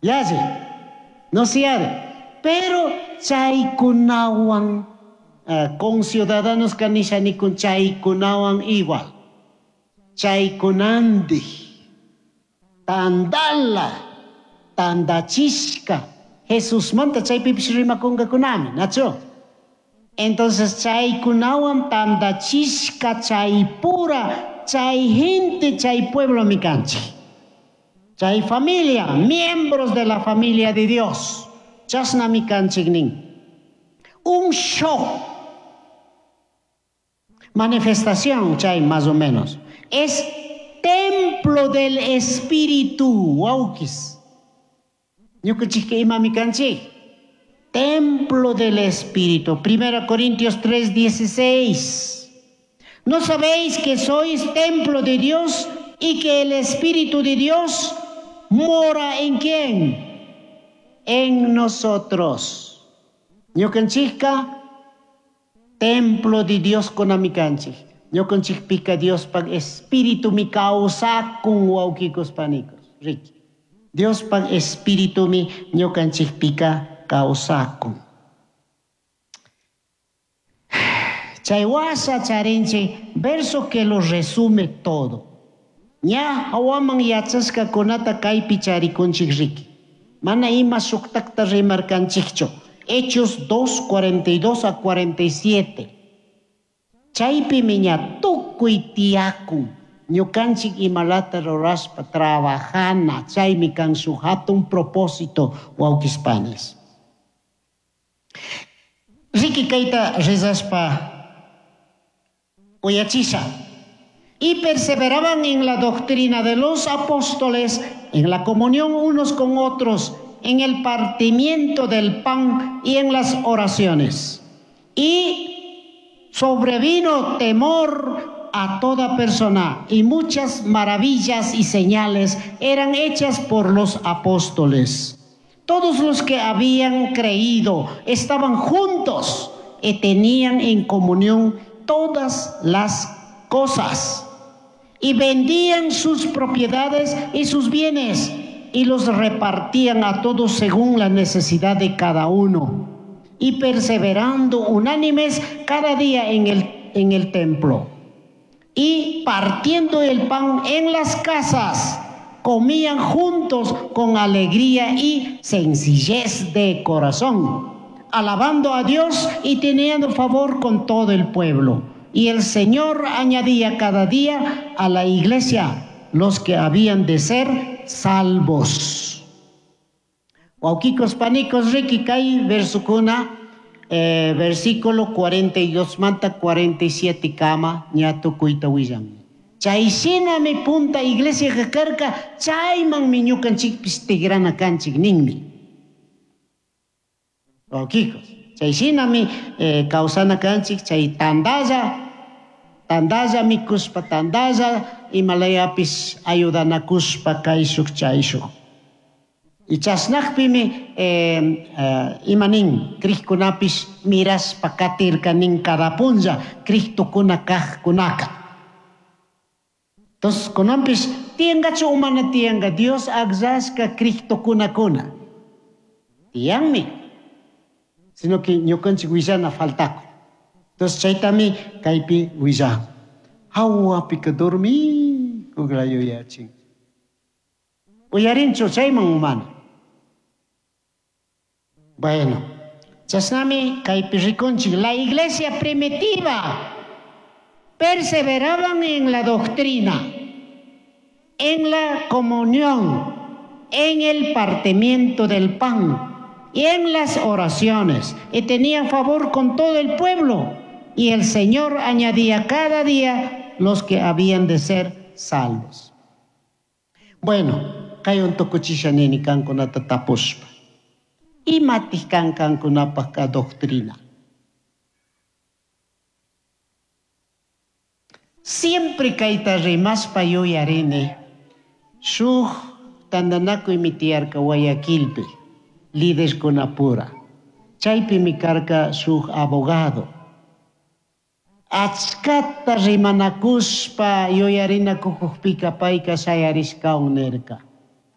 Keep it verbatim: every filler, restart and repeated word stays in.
Yalli, no siyari. Pero chaykunawan uh, conciudadanos kanisha nikun chaykunawan igual. Chaykunandij tandala tandachishka Jesusmanta chaypipish rimakunkakunami, nachu? Entonces chaykunawan tandachishka chaypura chay gente chay pueblo mi kanchik. Chay familia, miembros de la familia de Dios. Chashnami kanchik nin. Un show. Manifestación, chay más o menos. Es templo del Espíritu. Wawkis. Ñukanchikka imami kanchik. Templo del Espíritu. Primera Corintios tres dieciséis. ¿No sabéis que sois templo de Dios y que el Espíritu de Dios mora en quién? En nosotros. Ñukanchikka templo de Dios kunami kanchik. Ñukanchikpika Diospaj Espíritu mi kawsakun wawkikos panikos. Riki. Diospaj Espíritu mi ñukanchikpika kawsakun. Chay washa charinchik, verso que lo resume todo. Ña hawaman yachashkakunata kaypi charikunchik riki. Mana ima shuktakta rimarkanchikchu. Hechos dos, cuarenta y dos a cuarenta y siete. Chaypimi ña tukuy tiyakun. Ñukanchik imalata rurashpa trabajana. Chaymi kan shuk hatun propósito wawkispanis. Riki kayta rezashpa uyachisha. Y perseveraban en la doctrina de los apóstoles, en la comunión unos con otros, en el partimiento del pan y en las oraciones. Y sobrevino temor a toda persona, y muchas maravillas y señales eran hechas por los apóstoles. Todos los que habían creído estaban juntos y tenían en comunión todas las cosas. Y vendían sus propiedades y sus bienes y los repartían a todos según la necesidad de cada uno. Y perseverando unánimes cada día en el, en el templo. Y partiendo el pan en las casas, comían juntos con alegría y sencillez de corazón, alabando a Dios y teniendo favor con todo el pueblo. Y el Señor añadía cada día a la iglesia los que habían de ser salvos. Wawkikos panikos riki kay versukuna, eh, versículo cuarenta y dos manta cuarenta y siete kama ña tukuyta willan. Chay shinami punta iglesia kakarka, chaymanmi ñukanchikpis tigrana kanchik ninmi. Wawkikos, chay shinami, eh, kawsana kanchik, chay tandalla, tandalla mikuspa, tandalla imalayapis ayudanakuspa kayshuk chayshuk. Y chasnakpimi, eh, eh, imanin krikkunapis miraspa katirka nin cada punlla kriktukuna kajkunaka. Entonces, kunampis tiyangachu umana tiyanga Dios akllashka kriktukunakuna. Tiyanmi. Sino que ñukanchik willana faltaku. Entonces, chaytami kaypi willan. Hawapika dormi kuglayuyachin. Uyarinchu chayman umana. Bueno, chasnami kaypi rikunchik. La iglesia primitiva perseveraban en la doctrina, en la comunión, en el partimiento del pan y en las oraciones, y tenían favor con todo el pueblo, y el Señor añadía cada día los que habían de ser salvos. Bueno, kay un tukuchisha nini kankunata tapushpa. Imatij kan kankunapaj ka doctrina. Siempre kayta rimaspa yuyarini, shuk tandanakuy mi tiyarka Guayaquilpi, líderkunapura. Chaypi mi karka shuk abogado. Achkata rimanakuspa yuyarinakuqpika payka shayarishkawan nirka.